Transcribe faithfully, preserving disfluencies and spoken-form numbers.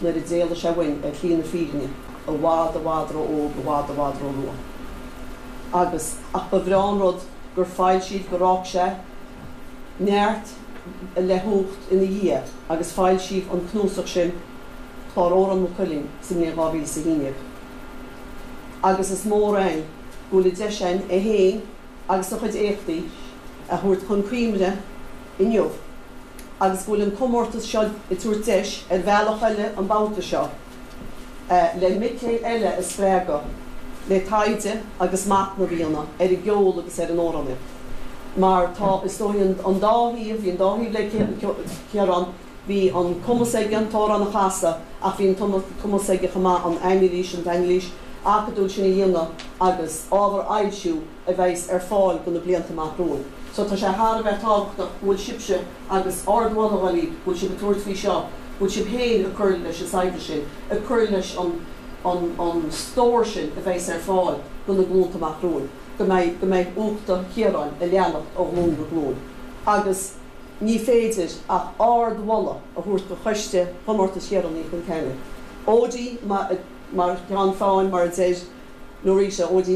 nuair a d'éalaigh sé uainn ar shlí na fírinne i bhfad i bhfad ró-óg, i bhfad i bhfad ró-luath. Agus, ach ba bhreá an rud gur foilsíodh, gur fhág sé neart le huacht ina dhiaidh agus foilsíodh an cnuasach sin, Clár Odhrán Maigh Cuilinn, sa mbliain dhá mhíle is a haon déag. Agus is mór againn go bhfuil an deis againn é féin agus a chuid éachtaí a thabhairt chun cuimhne inniu agus go bhfuil an comórtas seo ag tabhairt deis ar bhealach eile an babhta seo le mic léinn eile a spreagadh le taighde agus machnamh a dhéanamh ar an gceol agus ar an amhránaíocht mar tá, is dóigh, an dá thaobh, bhí an dá thaobh le Ciarán, bhí an cumas aige an t-amhrán a chasadh ach bhí an cumas aige chomh maith an anailís, an t-anailís acadúil sin a dhéanamh agus ábhar a fhoilsiú a bheas ar fáil do na blianta amach romhainn. So tá sé thar a bheith tábhachtach go bhfuil sibhse, agus ardmholadh dhaoibh, go bhfuil sibh ag tabhairt faoi seo, go bhfuil sibh féin ag cur leis an saibhreas sin, ag cur leis an an an stór sin a bheas ar fáil do na glúnta amach romhainn, go mbeidh go mbeidh uchta Chiaráin ag leanacht ó ghlúin go glúin. Agus ní féidir ach ardmholadh a thabhairt do choiste Chomórtas Chiaráin Uí Chonceanainn. Odí mar cheann feadhain, mar a deir Norita, Odí